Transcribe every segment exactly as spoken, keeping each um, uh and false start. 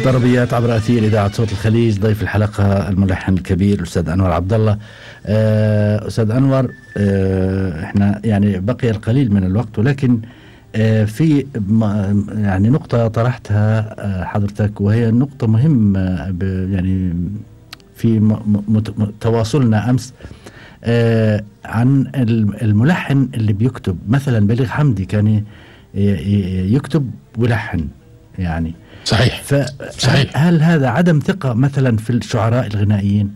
ضربيات عبر أثير إذاعة صوت الخليج. ضيف الحلقة الملحن الكبير الأستاذ أنور عبد الله. أستاذ أنور، إحنا يعني بقي القليل من الوقت، ولكن في يعني نقطة طرحتها حضرتك وهي نقطة مهمة، يعني في تواصلنا أمس عن الملحن اللي بيكتب. مثلا بليغ حمدي كان يكتب ويلحن يعني. صحيح. صحيح. هل هذا عدم ثقة مثلا في الشعراء الغنائيين؟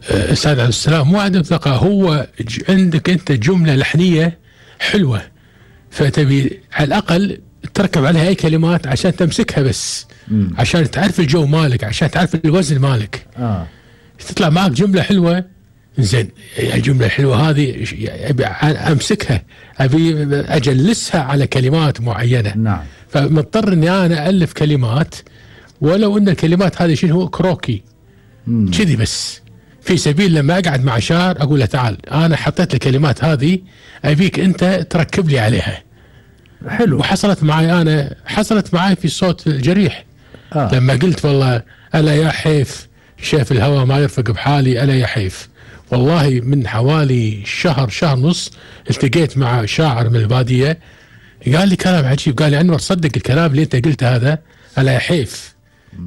أستاذ عبد السلام، مو عدم ثقة، هو عندك أنت جملة لحنية حلوة، فتبي على الأقل تركب عليها أي كلمات عشان تمسكها بس، م. عشان تعرف الجو مالك، عشان تعرف الوزن مالك. آه. تطلع معك جملة حلوة، زين الجملة الحلوة هذه أبي أمسكها، أبي أجلسها على كلمات معينة. نعم. فمضطر إني أنا ألف كلمات، ولو إن الكلمات هذه شنو هو كروكي كذي بس، في سبيل لما أقعد مع شاعر أقول له تعال أنا حطيت الكلمات هذه أبيك أنت تركب لي عليها. حلو. وحصلت معي أنا، حصلت معي في صوت الجريح. آه. لما قلت والله ألا يا حيف شاف الهوى ما يرفق بحالي، ألا يا حيف. والله من حوالي شهر شهر نص التقيت مع شاعر من البادية قال لي كلام عجيب، قال لي أنور صدق الكلام اللي أنت قلته هذا، ألا يا حيف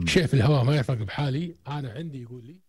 شاف الهوى ما يرفق بحالي، أنا عندي يقول لي